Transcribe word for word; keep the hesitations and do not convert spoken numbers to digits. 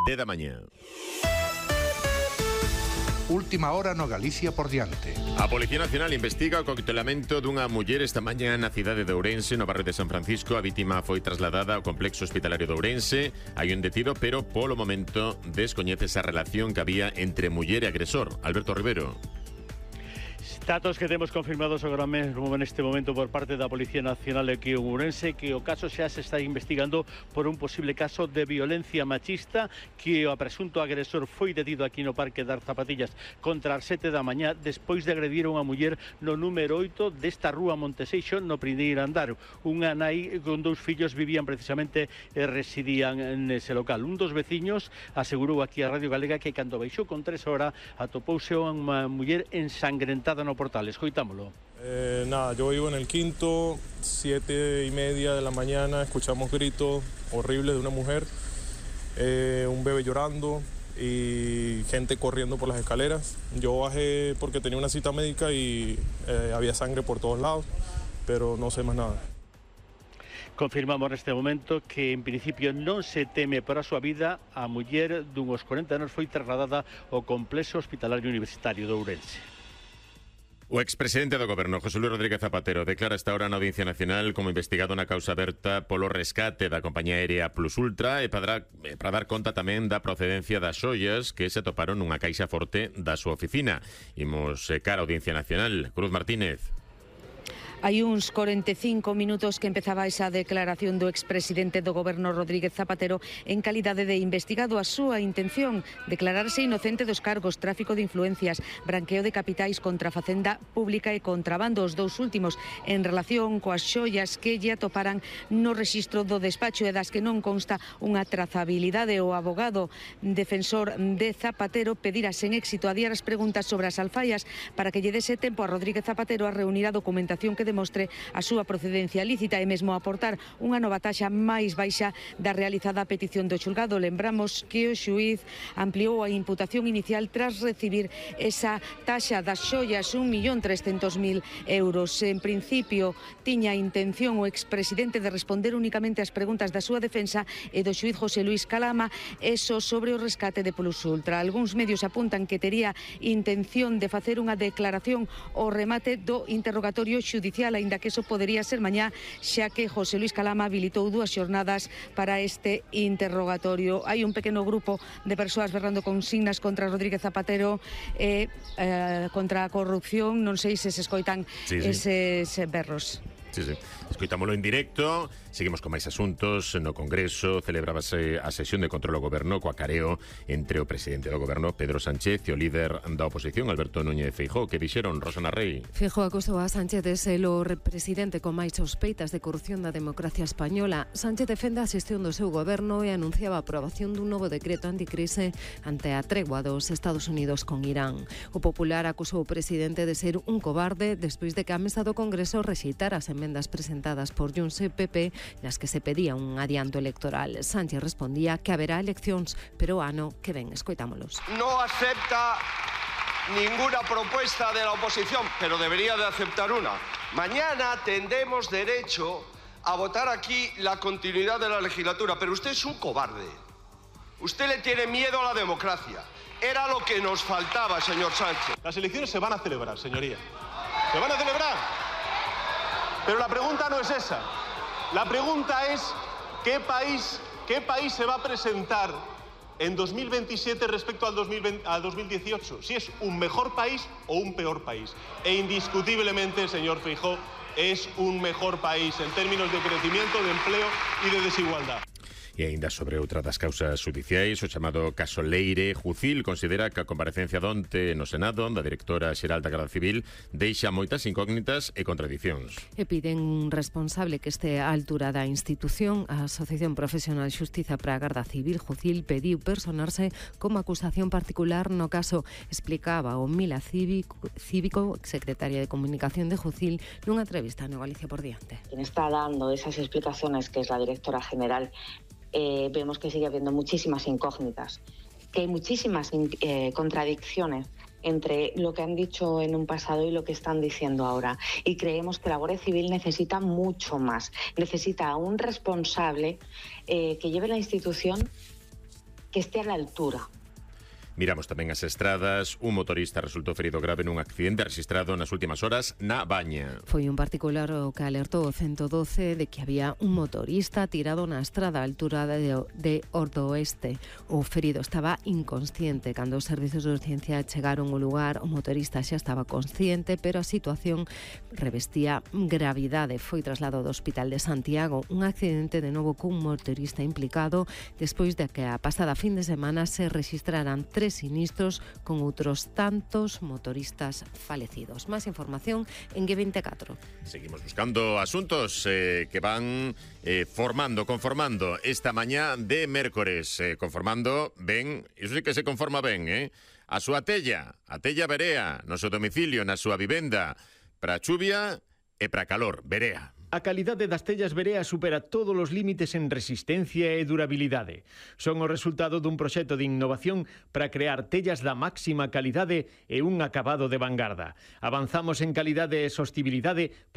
dez da mañá. Última hora no Galicia por diante. A Policía Nacional investiga o coquetelamento dunha muller esta mañá na cidade de Ourense, no barrio de San Francisco. A vítima foi trasladada ao complexo hospitalario de Ourense. Hai un detido, pero polo momento descoñece esa relación que había entre muller e agresor. Alberto Rivero. Datos que temos confirmados agora mesmo neste momento por parte da Policía Nacional aquí en Ourense, que o caso xa se está investigando por un posible caso de violencia machista, que o presunto agresor foi detido aquí no Parque das Zapatillas contra as sete da mañá despois de agredir a unha muller no número oito desta rúa Monteseixo, no primeiro andar. Unha nai con dous fillos vivían precisamente e residían nese local. Un dos veciños asegurou aquí a Radio Galega que cando baixou con tres horas atopouse unha muller ensangrentada no portal. Escoitámoslo. Eh, nada, yo vivo en el quinto, siete y media de la mañana, escuchamos gritos horribles de una mujer, eh, un bebé llorando y gente corriendo por las escaleras. Yo bajé porque tenía una cita médica y eh, había sangre por todos lados, pero no sé más nada. Confirmamos neste momento que en principio non se teme para a súa vida. A muller dunhos corenta anos foi trasladada ao complexo hospitalario universitario de Ourense. O expresidente do Goberno, José Luis Rodríguez Zapatero, declara esta hora na Audiencia Nacional como investigado na causa aberta polo rescate da compañía aérea Plus Ultra e para, para dar conta tamén da procedencia das xoias que se atoparon nunha caixa forte da súa oficina. Imos cara a Audiencia Nacional. Cruz Martínez. Hai uns corenta e cinco minutos que empezaba esa declaración do expresidente do Goberno Rodríguez Zapatero en calidade de investigado. A súa intención, declararse inocente dos cargos tráfico de influencias, branqueo de capitais, contra a facenda pública e contrabando, os dous últimos en relación coas xoias que lle atoparan no rexistro do despacho e das que non consta unha trazabilidade. O abogado defensor de Zapatero pedirá sen éxito adiar as preguntas sobre as alfaias para que lle dese tempo a Rodríguez Zapatero a reunir a documentación que demostre a súa procedencia lícita e mesmo aportar unha nova taxa máis baixa da realizada a petición do xulgado. Lembramos que o xuíz ampliou a imputación inicial tras recibir esa taxa das xoias, un millón trescentos mil euros. En principio, tiña intención o expresidente de responder únicamente ás preguntas da súa defensa e do xuíz José Luis Calama, eso sobre o rescate de Plus Ultra. Algúns medios apuntan que tería intención de facer unha declaración ao remate do interrogatorio xudicial, aínda que eso podería ser mañá, xa que José Luis Calama habilitou dúas xornadas para este interrogatorio. Hai un pequeno grupo de persoas berrando consignas contra Rodríguez Zapatero e eh, contra a corrupción. Non sei se se escoitan sí, sí. eses berros. Sí, sí. Escoitámoslo en directo. Seguimos con máis asuntos. No Congreso celebrábase a sesión de control ao Goberno coa careo entre o presidente do Goberno, Pedro Sánchez, e o líder da oposición, Alberto Núñez Feijóo. Que dixeron, Rosana Rey? Feijóo acusou a Sánchez de ser o presidente con máis sospeitas de corrupción da democracia española. Sánchez defende a xestión do seu goberno e anunciaba a aprobación dun novo decreto anticrise ante a tregua dos Estados Unidos con Irán. O Popular acusou o presidente de ser un cobarde despois de que a mesa do Congreso rexeitara as emendas presentadas por Junts e P P nas que se pedía un adianto electoral. Sánchez respondía que haberá eleccións, pero o ano que ven. Escoitámolos. No acepta ninguna propuesta de la oposición, pero debería de aceptar una. Mañana tendremos derecho a votar aquí la continuidad de la legislatura, pero usted es un cobarde. Usted le tiene miedo a la democracia. Era lo que nos faltaba, señor Sánchez. Las elecciones se van a celebrar, señoría. Se van a celebrar. Pero la pregunta no es esa. La pregunta es ¿qué país, qué país se va a presentar en dos mil veintisiete respecto al, dos mil veinte, al dos mil dieciocho? Si es un mejor país o un peor país. E indiscutiblemente, señor Feijóo, es un mejor país en términos de crecimiento, de empleo y de desigualdad. E aínda sobre outra das causas judiciais, o chamado caso Leire, Jucil considera que a comparecencia donte no Senado da directora xeral da Garda Civil deixa moitas incógnitas e contradicións. E piden un responsable que este á altura da institución. A Asociación Profesional Xustiza para a Garda Civil, Jucil, pediu personarse como acusación particular no caso. Explicaba o Mila Cívico, Cívico, secretaria de Comunicación de Jucil, nunha entrevista no Galicia por diante. Quien está dando esas explicaciones, que es la directora general, Eh, vemos que sigue habiendo muchísimas incógnitas, que hay muchísimas eh, contradicciones entre lo que han dicho en un pasado y lo que están diciendo ahora. Y creemos que la Guardia Civil necesita mucho más. Necesita a un responsable eh, que lleve la institución que esté a la altura. Miramos tamén as estradas. Un motorista resultou ferido grave nun accidente registrado nas últimas horas na Baña. Foi un particular o que alertou o ciento doce de que había un motorista tirado na estrada a altura de, de Ordoeste. O ferido estaba inconsciente. Cando os servizos de urgencia chegaron ao lugar, o motorista xa estaba consciente, pero a situación revestía gravidade. Foi trasladado ao Hospital de Santiago. Un accidente de novo cun motorista implicado despois de que a pasada fin de semana se registraran tres sinistros con outros tantos motoristas falecidos. Máis información en G veinticuatro. Seguimos buscando asuntos eh, que van eh, formando, conformando esta mañá de mércores. Eh, conformando ben, iso sí que se conforma ben, eh? A súa tella, a tella Berea, no seu domicilio, na súa vivenda, para a chuvia e para calor, Berea. A calidade das tellas Berea supera todos os límites en resistencia e durabilidade. Son o resultado dun proxecto de innovación para crear tellas da máxima calidade e un acabado de vanguarda. Avanzamos en calidade e sostibilidade para